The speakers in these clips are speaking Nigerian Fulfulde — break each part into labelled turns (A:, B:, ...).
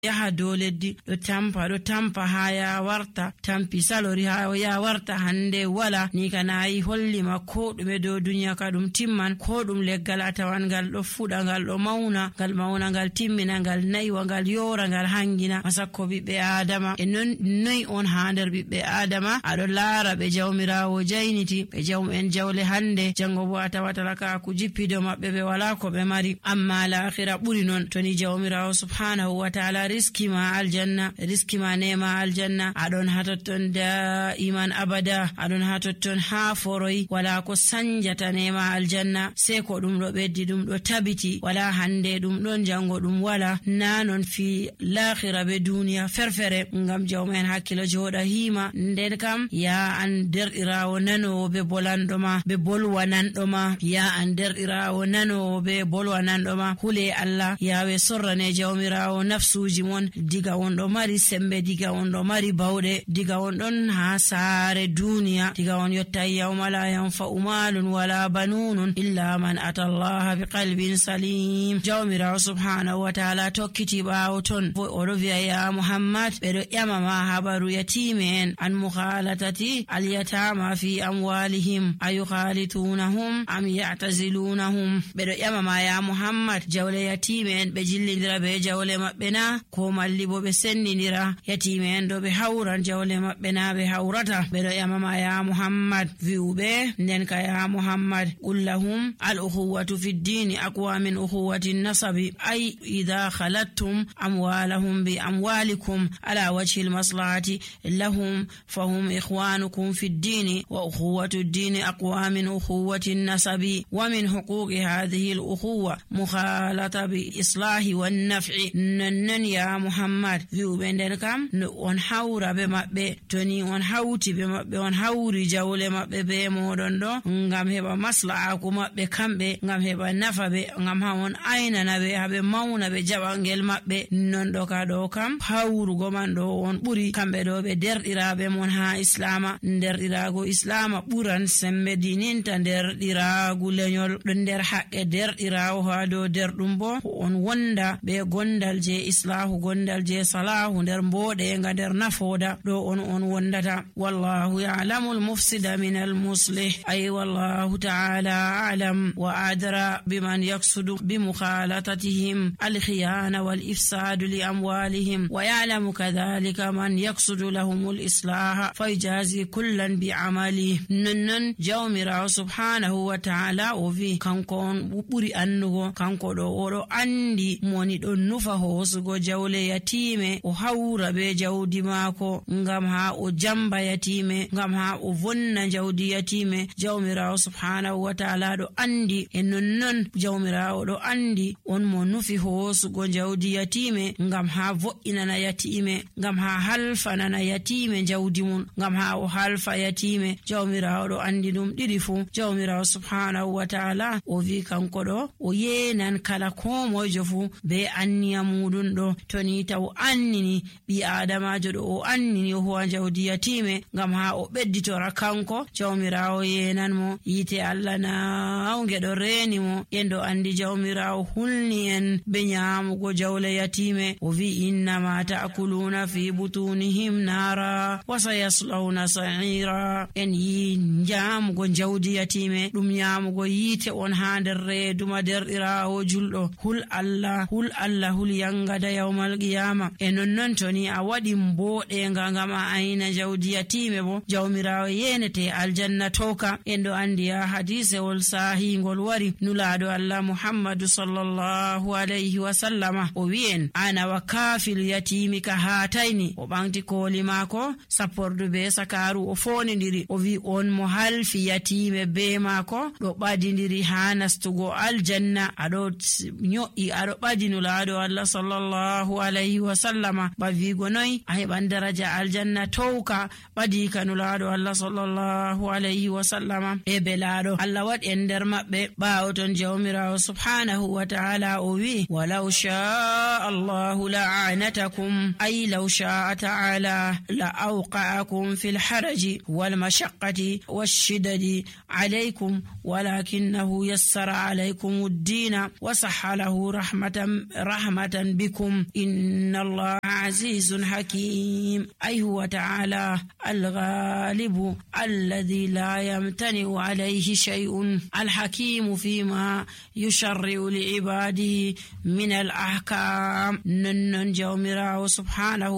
A: yaha dow leddi ɗo tampa ha ya warta tampi salori ha ya warta hande wala ni kanayi hollima ko ɗume dow duniya ka ɗum timman ko ɗum leggal atawan ngal ɗo fuɗa ngal ɗo mauna ngal timmina ngal naiwa ngal yora ngal hangina masakko ɓiɓɓe adama e noy on ha nder ɓiɓɓe adama aɗo laara ɓe jawmirawo jayniti ɓe jawmu'en jawle hande jango bo a tawata ka ku jippido maɓɓe ɓe wala ko ɓe mari amma lahira ɓuri non to ni jawmirawo subhanahu wa ta'ala riskima aljanna riskima nema aljanna aɗon ha totton da iman abada aɗon ha totton ha foroy wala ko sanjata nema aljanna sai ko ɗum ɗo ɓeddi ɗum ɗo tabiti wala hande ɗum ɗon jango ɗum wala nanon fi lahira be duniya ferfere ngam jawmen hakkilo joɗa hima nden kam ya an derɗirawo nanowo be bolanɗoma be bolwananɗoma ya an derɗirawo nanowo be bolwananɗoma hule Allah yawe sorrane jawmirawo nafsuji mon diga on ɗo mari sembe diga on ɗo mari bawɗe diga on ɗon ha saare duniya diga on yotta yawma la yanfa'u malun wala banunun illa man ata Allah bi qalbin salim jawmirawo subhanahu wa ta'ala tokkiti ɓawo ton oɗo wi'a ya Muhammad ɓeɗo ƴamama habaru yatimen an mukhalatati alyatama fi amwalihim ayukhalitunahum am ya'tazilunahum ɓeɗo ƴamama ya Muhammad jawle yatimen ɓe jillidira be jawle maɓɓe na ko malli bo ɓe sendidira yatimen ɗo ɓe hawran jawle maɓɓe na ɓe hawrata ɓeɗo ƴamama ya Muhammad wi'uɓe nden ka ya Muhammad qul lahum al ukhuwatu fi ddini aqwa min ukhuwati nasabi ay idha khalattum amwalahum bi amwalikum ala wajhi al maslahati lahum fahum ikhwanukum fi ddini wa ukhuwatu ddini aqwa min ukhuwati nasabi wa min huquqi hadhihi al ukhuwa mukhalata bi islahi wan naf'i nan ya Muhammad wi'uɓe nden kam no on hawra be maɓɓe toni on hawti be maɓɓe on hawri jawle maɓɓe be moɗon ɗo ngam heɓa maslahaaku maɓɓe kamɓe ngam heɓa nafa ɓe ngam ha on aynana ɓe haɓe mauna ɓe jaɓangel maɓɓe non ɗo ka ɗo kam hawrugo man ɗo on ɓuri kamɓe ɗo ɓe derɗiraɓe mon ha islama derɗirago islama ɓuran sembe dininta derɗiragu lenyol ɗo nder haqqe derɗirawo ha dow derɗum bo on wonda be gondal je islahu gondal je salahu nder mboɗenga nder nafoda ɗo on wondata wallahu ya'lamu al-mufsida min al-muslih ay wallahu ta'ala a'lam wa adra biman yaqsudu bi mukhalatatihim al-khiyana wal ifsad li amwalihim wa ya'lamu kadhalika man yaqsudu lahum al-islah fayjazi kullan bi amali non jawmirawo subhanahu wa ta'ala o vi kanko on ɓuri annugo kanko ɗo oɗo andi moni ɗon nufa hosugo jawle yatime o hawra be jawdi maako ngam ha o jamba yatime ngam ha o vonna jawdi yatime jawmirawo subhanahu wa ta'ala ɗo andi e nonnon jawmirawo ɗo andi on mo nufi hosugo jawdi yatime ngam ha vo'inana yatime ngam ha halfanana yatime jawdi mum ngam ha o halfa yatime jawmirawo ɗo andi ɗum ɗiɗi fu jawmirawo subhanahu wa ta'ala o vi kanko ɗo o yenan kala ko mojo fu be anniya muɗum ɗo toni taw annini ɓi adamajo ɗo o annini o huwa jawdi yatime ngam ha o ɓedditora kanko jawmirawo yenan mo yite Allah nawge ɗo reni mo yendo andi jawmirawo hulni en be nyamugo jawle yatime o vi innama ta'kuluna fi butunihim nara wa sayaslawna sa'ira en yi nyamugo jawdi yatime ɗum nyamugo yite on ha nder reeduma derɗirawo julɗo hul Allah hul yangada yawmal qiyama e nonnon toni a waɗi mboɗenga ngam a ayna jawdi yatime bo jawmirawo yenete aljanna toka en ɗo andi ya hadisewol sahingol wari nulaɗo Allah Muhammadu sallallahu alayhi wa sallama o wi'en ana wa kafil yatimi ka hatayni o ɓanti koli mako sappordu be sakaru o fonidiri o wi on mo halfi yatime be mako ɗo ɓadidiri ha nastugo aljanna aɗo nyo'i aɗo ɓadi nulaɗo Allah sallallahu alayhi wa sallama ba wigo noy a heɓan daraja aljanna towka ɓadi kanulaɗo Allah sallallahu alayhi wa sallama e belaɗo Allah waɗi en nder maɓɓe ɓawo ton jawmirawo subhanahu wa ta'ala o wi walaw sha'a Allahu la'anatakum ay law sha'a ta'ala la awqa'akum fil haraji wal mashaqqati wash-shiddati alaykum walakinahu yassara alaykum ad-din wa sahhalahu rahmatan bikum إن الله عزيز حكيم أي هو تعالى الغالب الذي لا يمتنع عليه شيء الحكيم فيما يشرع لعباده من الأحكام نن جومراه سبحانه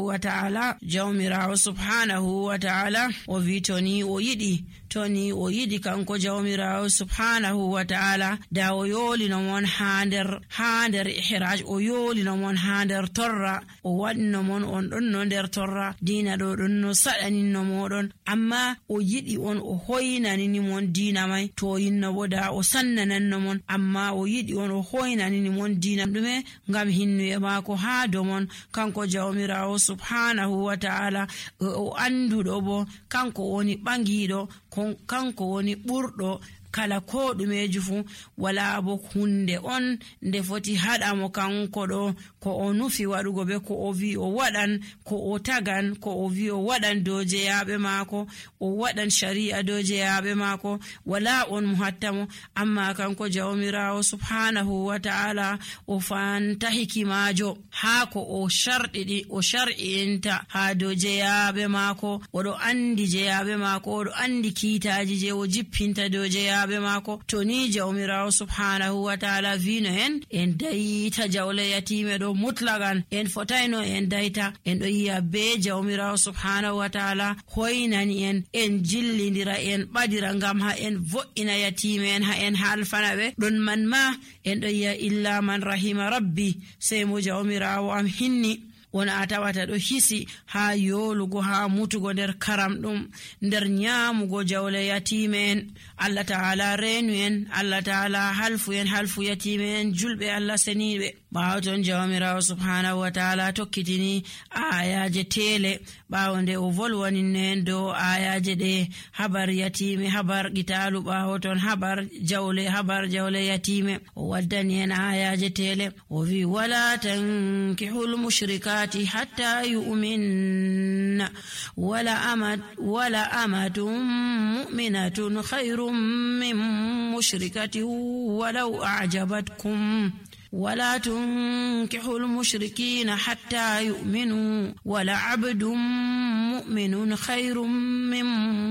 A: وتعالى وفيتوني ويدي toni o yidi kanko jawmirawo subhanahu wa ta'ala da o yolino mon hander ihraj o yolino mon hander torra o wadno mon on don no der torra dina do don no sadanino modon amma o yidi on o hoynani ni mon dina mai to yinno boda o sannananno mon amma o yidi on o hoynani ni mon dina dume ngam hinnu e mako ha do mon kanko jawmirawo subhanahu wa ta'ala o andudo bo kanko woni bangido kanko woni burdo kala ko dumeji fu wala bo hunde on nde foti hada mo kanko do ko o nufi wadugo be ko o vi o wadan ko o tagan ko o vi o wadan doje yabe mako o wadan sharia doje yabe mako wala on muhattamo amma kanko jawmirawo subhanahu wa ta'ala o fanta hikimajo ha ko o shardidi o shar'inta ha doje yabe mako o do andi je yabe mako o do andi kitaji je o jippinta doje yabe mako to ni jawmirawo subhanahu wa ta'ala vino en dayita jawle yatime do mutlagan en fotaino en dayta en do yiya be jawmirawo subhanahu wa ta'ala hoynani en jillindira en badira ngam ha en vo'ina yatime en ha en halfanabe don man ma en do yiya illa man rahima rabbi sai mo jawmirawo am hinni wona atawata do hisi ha yolugo ha mutugo der karam dum der nyamugo jawle yatimen Allah ta'ala renu en Allah ta'ala halfu yatimen julbe Allah senibe bawton jawmirawo subhanahu wa ta'ala tokkitini ayaje tele bawonde o volwani nen do ayaje de habar yatime habar gitalu bawton habar jawle yatime o waddani en ayaje tele o vi wala tankihul mushrika حتى يؤمن ولا أمة مؤمنة خير من مشركة ولو أعجبتكم ولا تنكحوا المشركين حتى يؤمنوا ولا عبد مؤمن خير من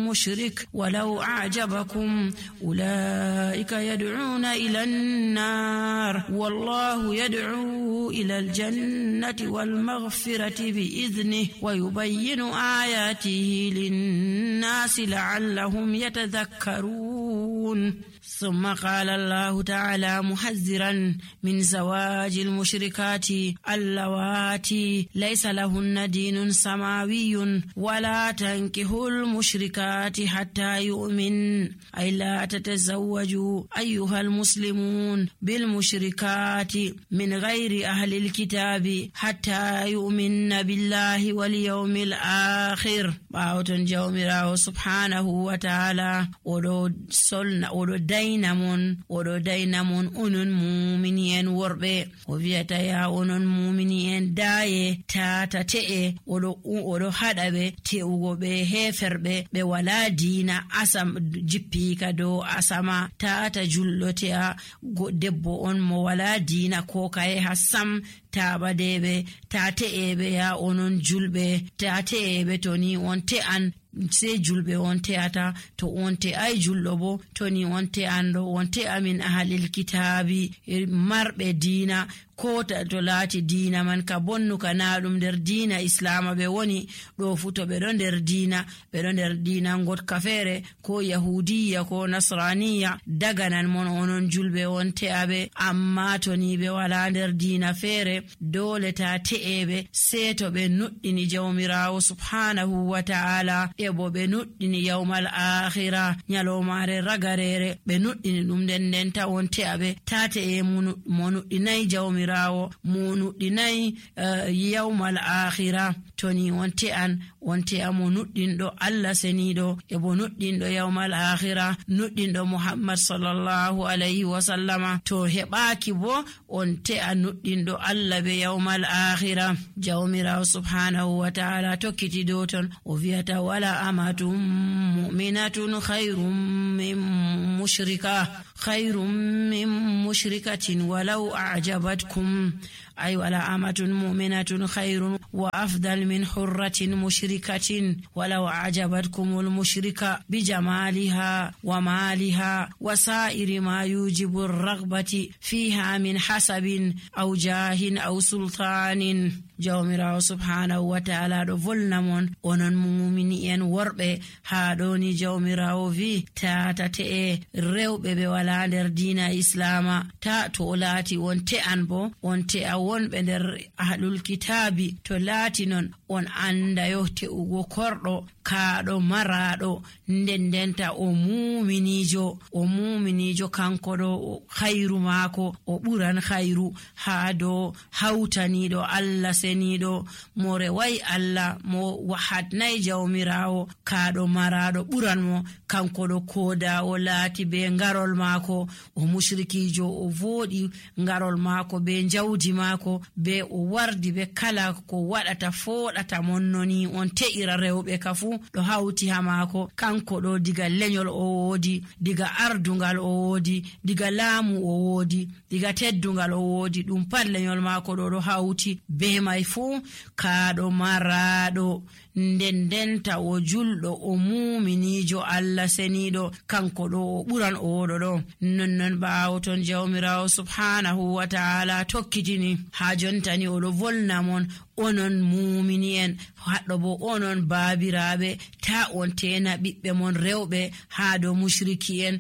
A: مشرك ولو أعجبكم أولئك يدعون إلى النار والله يدعو إلى الجنة والمغفرة بإذنه ويبين آياته للناس لعلهم يتذكرون ثم قال الله تعالى محذرا من زواج المشركات اللواتي ليس لهن دين سماوي ولا تنكحوا المشركات حتى يؤمن أي لا تتزوجوا أيها المسلمون بالمشركات من غير أهل الكتاب حتى يؤمن بالله واليوم الآخر باوتن جومراه سبحانه وتعالى ودو dainamon onon mu'minin worbe o viata ya onon mu'minin daye tata te'e odo hadabe teugo be heferbe be wala dina asam jippika do asama tata jullotea debbo on mo wala dina ko kaye hasam tabadebe tateebe ya onon julbe tateebe toni on te'an se julbe on teata to on te ay jullo bo toni on te ando on te amin ahlil kitabi marbe dina kota to lati dina man ka bonnu kana dum der dina islama be woni do futo be don der dina ngot kafere ko yahudiya ko nasraniya daganan mon onon julbe on te abe amma toni be wala der dina fere dole ta teebe seto be nuddini jawmirawo subhanahu wa ta'ala ebo be nuddini yawmal akhirah nyalomare ragarere be nuddini dum den ta on te abe tate e monu dinai jawmirawo monu dinai yawmal akhirah toni wonte amo nuddindo Allah senido e bo nuddindo yawmal akhirah nuddindo Muhammad sallallahu alaihi wasallama to hebaaki bo onte nuddindo Allah be yawmal akhirah jawmirawo subhanahu wa ta'ala tokkiti do ton o viata wala amatum mu'minatun khairum min mushrikatin walau a'jabatkum ay wala amatun mu'minatun khayrun wa afdal min hurratin mushrikatin walaw a'jabatkumul mushrika bijamaliha wa maliha wa sa'iri ma yujibu ar-raghbati fiha min hasabin aw jahin aw sultanin. Jawmirawo subhanahu wa ta'ala do volna mon onon mu'mini en worbe ha doni jawmirawo vi tatate e rewbe be wala nder diina islama ta to laati on te'an bo on te'a wonbe nder ahlul kitabi to laati non on anda yo te'ugo kordo kaado marado ndendenta o muminijo kanko do khairu mako o buran khairu ha do hawtanido Allah senido more wai Allah mo wahadnai jawmirawo kaado marado buran mo kanko do koda o laati be ngarol mako o mushrikijo o vodi ngarol mako be jawdi mako be o wardi be kala ko wadata fodata monnoni on te'ira rewbe kafu do hawti ha mako kanko do diga lenyol o wodi diga ardungal o wodi diga laamu o wodi diga teddungal o wodi dum pat lenyol mako do hawti be mai fu kaado marado ndendenta o juldo o muminijo Allah senido kanko do buran o wodo do non baawoton jawmirawo subhanahu wa ta'ala tokkitini ha jontani o do volna mon onon mumini en haddo bo onon baabirabe ta on tena bibbe mon rewbe ha do mushriki en